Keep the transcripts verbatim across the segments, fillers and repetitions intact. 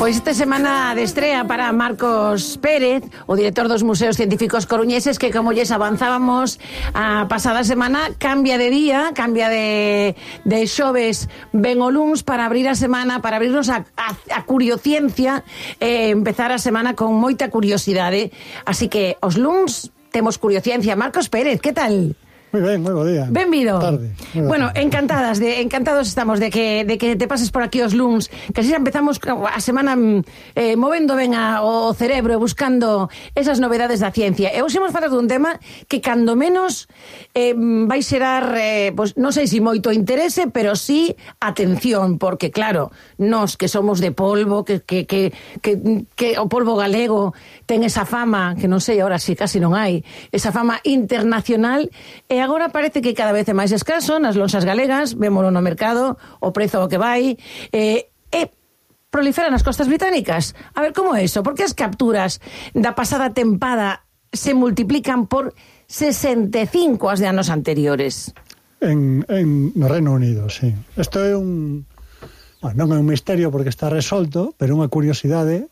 Pois esta semana de estrea para Marcos Pérez, o director dos Museos Científicos Coruñeses, que como lles avanzábamos a pasada semana, cambia de día, cambia de, de xoves ben o luns para abrir a semana, para abrirnos a, a, a curiociencia, eh, empezar a semana con moita curiosidade. Así que os luns temos curiociencia. Marcos Pérez, que tal? Moi ben, moi bo día. Benvido. Tarde. Bueno, encantadas de encantados estamos de que de que te pases por aquí os luns, que así empezamos a semana eh, movendo ben a, o cerebro e buscando esas novedades da ciencia. E hoxe imos falar dun tema que cando menos eh, vai xerar eh, pues, non sei se moito interese, pero sí atención, porque claro, nós que somos de polvo, que que que que, que o polvo galego ten esa fama, que non sei agora si casi non hai, esa fama internacional. E agora parece que cada vez é máis escaso nas lonxas galegas, vémolo no mercado, o prezo ao que vai, eh, e proliferan nas costas británicas. A ver, como é iso? Por que as capturas da pasada tempada se multiplican por sesenta e cinco as de anos anteriores? En, en no Reino Unido, sí. Isto é un... Bueno, non é un misterio porque está resolto, pero unha curiosidade,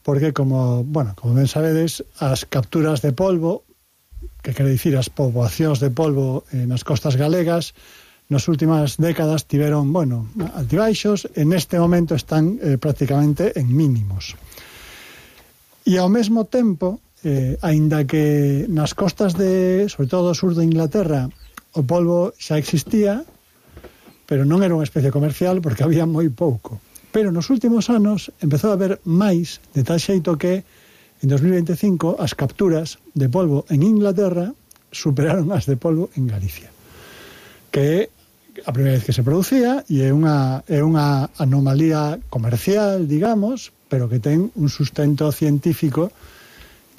porque como, bueno, como ben sabedes, as capturas de polvo, que quere dicir as poboacións de polvo eh, nas costas galegas, nas últimas décadas tiveron, bueno, altibaixos, en este momento están eh, prácticamente en mínimos. E ao mesmo tempo, eh, aínda que nas costas de, sobre todo do sur de Inglaterra, o polvo xa existía, pero non era unha especie comercial porque había moi pouco. Pero nos últimos anos empezou a haber máis, de tal xeito que en dos mil veinticinco as capturas de polvo en Inglaterra superaron as de polvo en Galicia, que é a primeira vez que se producía e é unha, é unha anomalía comercial, digamos, pero que ten un sustento científico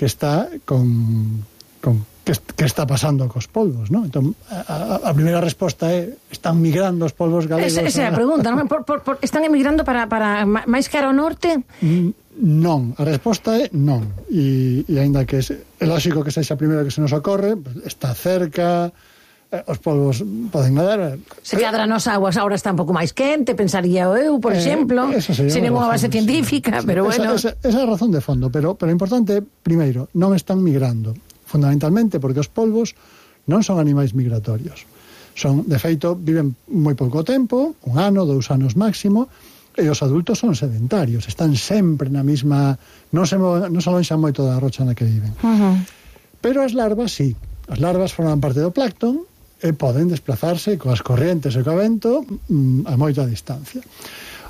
que está con, con que, que está pasando cos polvos, ¿no? Entón, a, a primeira resposta é: están migrando os polvos galegos? Esa é a pregunta, non? Por, por, por, están emigrando para, para máis cara ao norte? Mm. Non, a resposta é non. E, e aínda que é, é lógico que sexa a primeira que se nos ocorre, está cerca, eh, os polvos poden nadar. Se cadra nos aguas agora está un pouco máis quente, pensaría eu, por eh, exemplo, sin ninguna base científica, sí, pero sí, bueno. Esa, esa, esa é a razón de fondo, pero, pero o importante, primeiro, non están migrando, fundamentalmente porque os polvos non son animais migratorios. Son, de feito, viven moi pouco tempo, un ano, dous anos máximo, e os adultos son sedentarios, están sempre na mesma, non se, non se alonxan moito da rocha na que viven. Uh-huh. Pero as larvas, sí, as larvas forman parte do plancton e poden desplazarse coas corrientes e co vento mm, a moita distancia.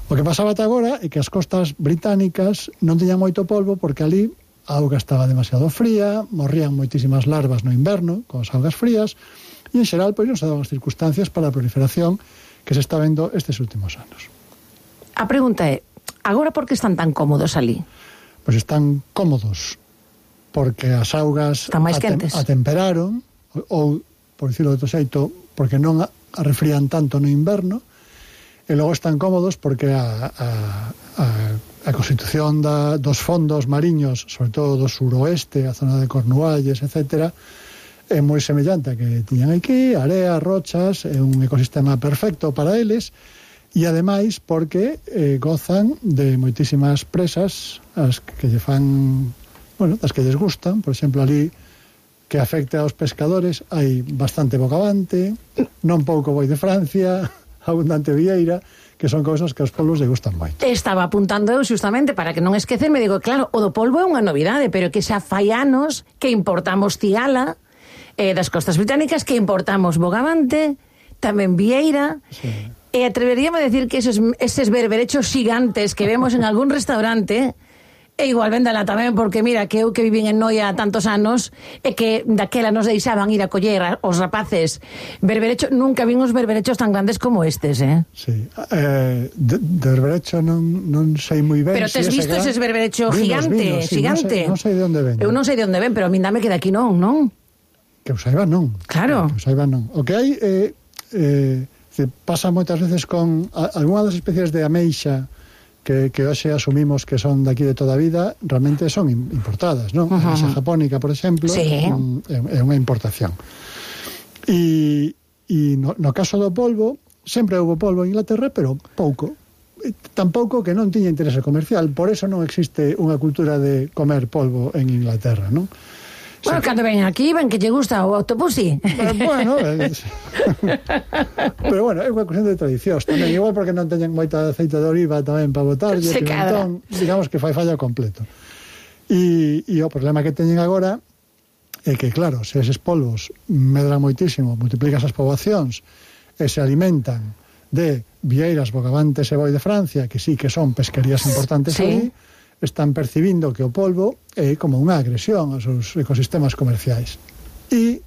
O que pasaba ata agora é que as costas británicas non teñan moito polvo porque ali a auga estaba demasiado fría, morrían moitísimas larvas no inverno con as augas frías e en xeral pois non se daban as circunstancias para a proliferación que se está vendo estes últimos anos. A pregunta é, agora por que están tan cómodos ali? Pois están cómodos porque as augas están máis quentes, atem atemperaron, ou, por dicirlo de outro xeito, porque non arrefrían tanto no inverno, e logo están cómodos porque a, a, a, a constitución da, dos fondos mariños, sobre todo do suroeste, a zona de Cornualles, etcétera, é moi semellante a que tiñan aquí, area, rochas, é un ecosistema perfecto para eles. E ademais porque eh, gozan de moitísimas presas as que lle fan, bueno, as que lles gustan, por exemplo, ali que afecta aos pescadores hai bastante bogavante, non pouco boi de Francia, abundante vieira, que son cousas que aos polvos lle gustan moito. Estaba apuntando eu xustamente para que non esquecerme, digo, claro, o do polvo é unha novidade, pero que xa fai anos que importamos cigala eh, das costas británicas, que importamos bogavante, tamén vieira. Sí. E atreveríame a decir que esos, eses berberechos gigantes que vemos en algún restaurante, e igual véndala tamén, porque mira, que eu que vivín en Noia tantos anos, e que daquela nos deixaban ir a coller os rapaces berberechos, nunca vin os berberechos tan grandes como estes, eh? Sí, eh, de, de berberecho non, non sei moi ben. Pero tes si visto ese berberecho gigante, vinos, sí, gigante? Non sei, non sei de onde ven. Eu non sei de onde ven, pero a min dame que de aquí non, non? Que eu saiba non. Claro. Que eu saiba non. O que hai é... Eh, eh, pasa moitas veces con a, algunha das especies de ameixa que, que hoxe asumimos que son daqui de toda a vida, realmente son importadas, non? Uh-huh. A ameixa japónica, por exemplo, sí. um, é, é unha importación. E, e no, no caso do polvo, sempre houve polvo en Inglaterra, pero pouco. tampouco que non tiña interese comercial, por eso non existe unha cultura de comer polvo en Inglaterra, non? Bueno, cando ven aquí, ven que lle gusta o autobusi. Eh, bueno, eh, pero bueno, é unha cuestión de tradicións tamén, igual porque non teñen moita aceite de oliva tamén para botar, e entón, digamos que fai falla completo. E, e o problema que teñen agora é que, claro, se eses polvos medran moitísimo, multiplican as poboacións e se alimentan de vieiras, bogavantes e boi de Francia, que sí que son pesquerías importantes sí. aí, están percibindo que o polvo é como unha agresión aos seus ecosistemas comerciais. E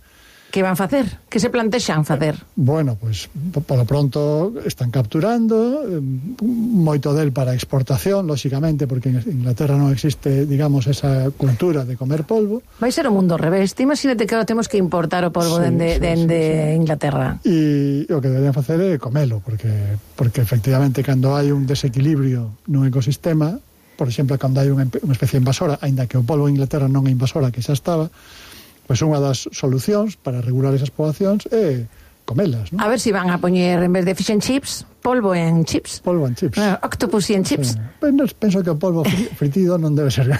que van facer? Que se plantexan facer? Bueno, pois, pues, polo pronto están capturando eh, moito del para exportación, lóxicamente, porque en Inglaterra non existe, digamos, esa cultura de comer polvo. Vai ser o mundo ao revés. Te imagínate que ahora temos que importar o polvo sí, dende, sí, dende sí, sí. Inglaterra. E o que deberían facer é comelo, porque, porque efectivamente, cando hai un desequilibrio nun ecosistema, por exemplo, cando hai unha, unha especie invasora, aínda que o polvo en Inglaterra non é invasora, que xa estaba, pois unha das solucións para regular esas poboacións é comelas, non? A ver se si van a poñer, en vez de fish and chips, polvo en chips. Polvo en chips. Uh, octopus en chips. Sí. Pero penso que o polvo fritido non debe ser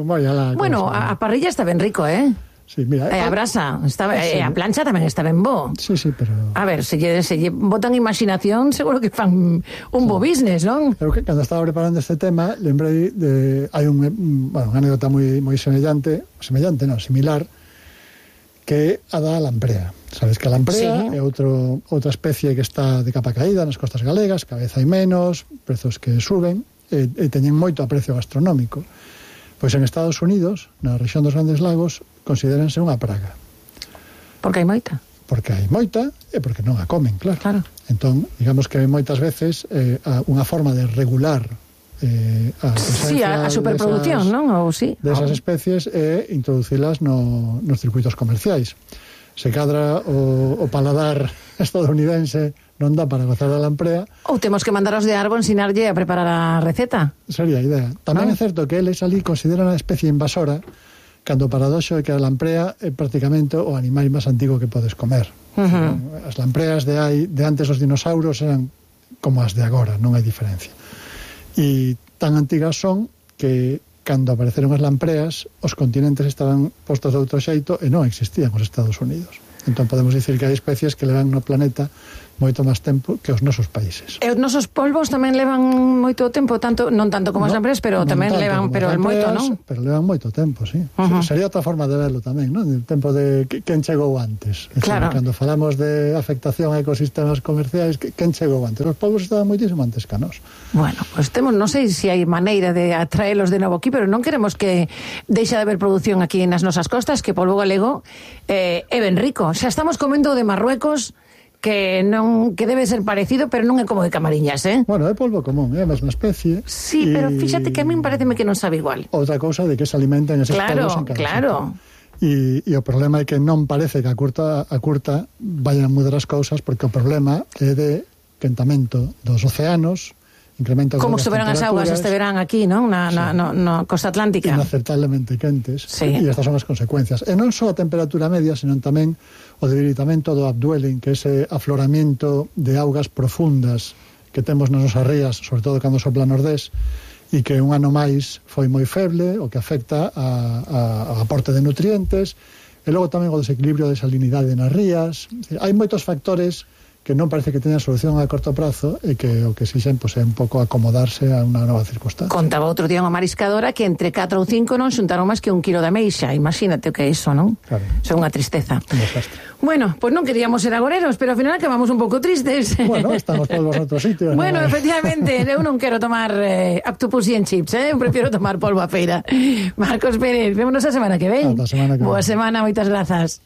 moi alá. Bueno, a, a parrilla está ben rico, eh? Sí, mira, eh, a brasa, está, sí. eh, a plancha tamén está ben bo. Sí, sí, pero... A ver, se lle, se lle botan imaginación, seguro que fan un bo business, non? Eu que cando estaba preparando este tema, lembrei de... Hai un, bueno, unha anécdota moi, moi semellante, semellante, non, similar, que a da lamprea. Sabes que a lamprea sí. é outro, outra especie que está de capa caída nas costas galegas, cabeza hai menos, prezos que suben, e, e teñen moito aprecio gastronómico. Pois en Estados Unidos, na rexión dos Grandes Lagos, considéranse unha praga. Porque hai moita? Porque hai moita e porque non a comen, claro. claro. Entón, digamos que moitas veces eh, unha forma de regular eh, a presencia sí, a, a superproducción, desas, non? Ou sí. desas oh. especies é introducilas no, nos circuitos comerciais. Se cadra o, o paladar estadounidense non dá para gozar da lamprea. Ou temos que mandar aos de Arbo ensinarlle a preparar a receta. Sería a idea. Tamén ¿no? é certo que eles ali consideran a especie invasora cando o paradoxo é que a lamprea é prácticamente o animal máis antigo que podes comer. Uh-huh. As lampreas de, hai, de antes os dinosaurios eran como as de agora, non hai diferencia. E tan antigas son que cando apareceron as lampreas os continentes estaban postos de outro xeito e non existían os Estados Unidos. Entón podemos dicir que hai especies que levan no planeta moito máis tempo que os nosos países. E os nosos polvos tamén levan moito tempo, tanto non tanto como no, as lampreas, pero tamén levan, pero moito, non? Pero levan moito tempo, sí. Uh-huh. Sería outra forma de verlo tamén, non? O tempo de quen chegou antes. É claro. Decir, cando falamos de afectación a ecosistemas comerciais, quen chegou antes? Os polvos estaban moitísimo antes que a nós. Bueno, pois pues temos, non sei se hai maneira de atraelos de novo aquí, pero non queremos que deixa de haber produción aquí nas nosas costas, que polvo galego eh, é ben rico. Xa estamos comendo de Marruecos, que non que debe ser parecido, pero non é como de Camariñas, eh? Bueno, é polvo común, é a mesma especie. Sí, y... pero fíxate que a min pareceme que non sabe igual. Outra cousa de que se alimentan eses claro, polvos en cada claro. E, e o problema é que non parece que a curta, a curta vayan a mudar as cousas, porque o problema é de quentamento dos océanos, incremento como estuveran as augas este verán aquí, non? Na, sí. na no, no costa atlántica. Inaceptablemente quentes. Sí. E estas son as consecuencias. E non só a temperatura media, senón tamén o debilitamento do upwelling, que é ese afloramiento de augas profundas que temos nas nosas rías, sobre todo cando sopla nordés, e que un ano máis foi moi feble, o que afecta a, a, a aporte de nutrientes, e logo tamén o desequilibrio de salinidade nas rías. Hai moitos factores que non parece que teñan solución a corto prazo e que o que exixen pois, é un pouco acomodarse a unha nova circunstancia. Contaba outro día unha mariscadora que entre catro ou cinco non xuntaron máis que un kilo de ameixa. Imagínate o que é iso, non? Claro. Iso é unha tristeza. Un desastre. Bueno, pois pues non queríamos ser agoreros, pero ao final acabamos un pouco tristes. Bueno, estamos polvos en outro sitio. Bueno, ¿no? efectivamente, eu non quero tomar eh, octopus and chips, eh? Eu prefiro tomar polvo a feira. Marcos Pérez, vémonos a semana que ven. Ata a semana que Boa ven. semana, moitas grazas.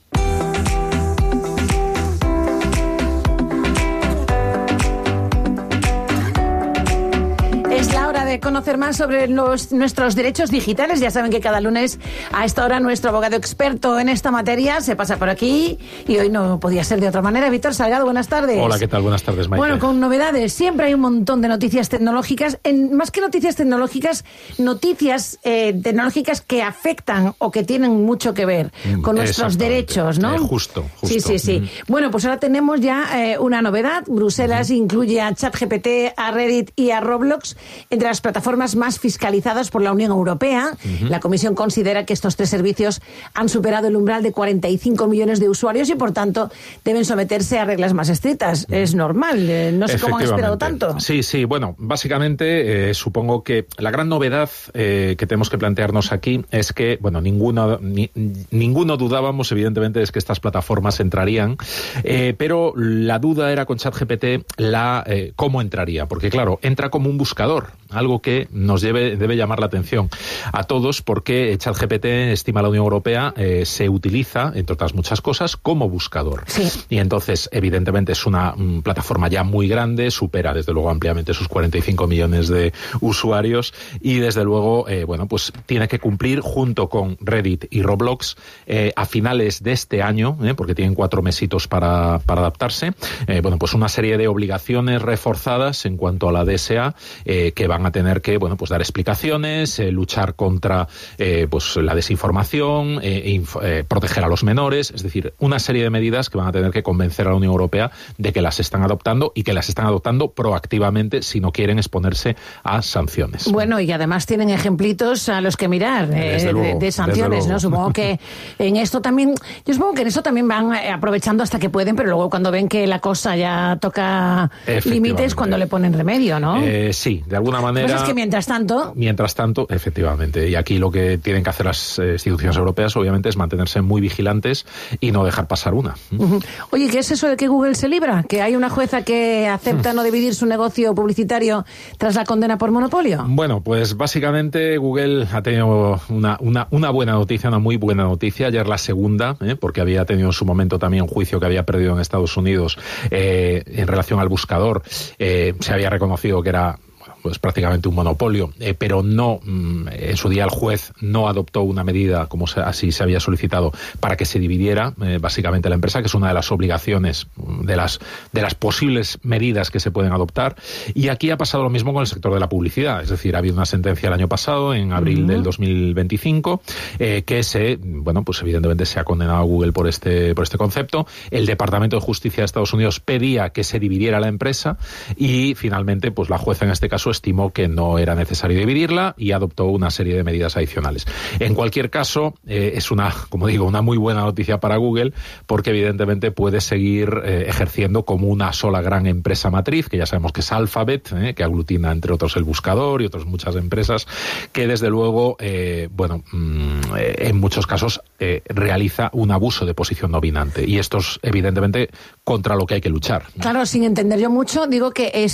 eh, conocer más sobre los, nuestros derechos digitales. Ya saben que cada lunes a esta hora nuestro abogado experto en esta materia se pasa por aquí y hoy no podía ser de otra manera. Víctor Salgado, buenas tardes. Hola, ¿qué tal? Buenas tardes, Maite. Bueno, con novedades. Siempre hay un montón de noticias tecnológicas. En, más que noticias tecnológicas, noticias eh, tecnológicas que afectan o que tienen mucho que ver con nuestros derechos, ¿no? Eh, justo, justo. Sí, sí, sí. Mm. Bueno, pues ahora tenemos ya eh, una novedad. Bruselas uh-huh. incluye a ChatGPT, a Reddit y a Roblox entre las plataformas más fiscalizadas por la Unión Europea. Uh-huh. La Comisión considera que estos tres servicios han superado el umbral de cuarenta y cinco millones de usuarios y, por tanto, deben someterse a reglas más estrictas. Uh-huh. Es normal. Eh, no sé cómo han esperado tanto. Sí, sí. Bueno, básicamente eh, supongo que la gran novedad eh, que tenemos que plantearnos aquí es que, bueno, ninguno, ni, ninguno dudábamos, evidentemente, es que estas plataformas entrarían, eh, pero la duda era con ChatGPT la eh, cómo entraría, porque claro, entra como un buscador, algo que nos debe, debe llamar la atención a todos, porque ChatGPT, estima la Unión Europea, eh, se utiliza, entre otras muchas cosas, como buscador. Sí. Y entonces, evidentemente, es una um, plataforma ya muy grande, supera desde luego ampliamente sus cuarenta y cinco millones de usuarios y desde luego, eh, bueno, pues tiene que cumplir junto con Reddit y Roblox eh, a finales de este año, eh, porque tienen cuatro mesitos para, para adaptarse, eh, bueno, pues una serie de obligaciones reforzadas en cuanto a la D S A eh, que van a tener que, bueno, pues dar explicaciones, eh, luchar contra eh, pues la desinformación, eh, inf- eh, proteger a los menores, es decir, una serie de medidas que van a tener que convencer a la Unión Europea de que las están adoptando y que las están adoptando proactivamente si no quieren exponerse a sanciones. Bueno, y además tienen ejemplitos a los que mirar eh, de, luego, de sanciones, ¿no? Supongo que en esto también, yo supongo que en eso también van aprovechando hasta que pueden, pero luego cuando ven que la cosa ya toca límites, cuando le ponen remedio, ¿no? Eh, sí, de alguna manera. Pues es que mientras tanto. Mientras tanto, efectivamente. Y aquí lo que tienen que hacer las eh, instituciones europeas, obviamente, es mantenerse muy vigilantes y no dejar pasar una. Uh-huh. Oye, ¿qué es eso de que Google se libra? ¿Que hay una jueza que acepta uh-huh. no dividir su negocio publicitario tras la condena por monopolio? Bueno, pues básicamente Google ha tenido una, una, una buena noticia, una muy buena noticia. Ayer la segunda, ¿eh? porque había tenido en su momento también un juicio que había perdido en Estados Unidos eh, en relación al buscador. Eh, se había reconocido que era pues prácticamente un monopolio, eh, pero no, mmm, en su día el juez no adoptó una medida, como se, así se había solicitado, para que se dividiera eh, básicamente la empresa, que es una de las obligaciones, de las, de las posibles medidas que se pueden adoptar. Y aquí ha pasado lo mismo con el sector de la publicidad, es decir, ha habido una sentencia el año pasado, en abril uh-huh. del dos mil veinticinco, eh, que se, bueno, pues evidentemente se ha condenado a Google por este, por este concepto. El Departamento de Justicia de Estados Unidos pedía que se dividiera la empresa y finalmente, pues la jueza en este caso estimó que no era necesario dividirla y adoptó una serie de medidas adicionales. En cualquier caso, eh, es una, como digo, una muy buena noticia para Google, porque evidentemente puede seguir eh, ejerciendo como una sola gran empresa matriz, que ya sabemos que es Alphabet, eh, que aglutina entre otros el buscador y otras muchas empresas, que desde luego, eh, bueno, mmm, en muchos casos eh, realiza un abuso de posición dominante. Y esto es evidentemente contra lo que hay que luchar. Claro, sin entender yo mucho, digo que es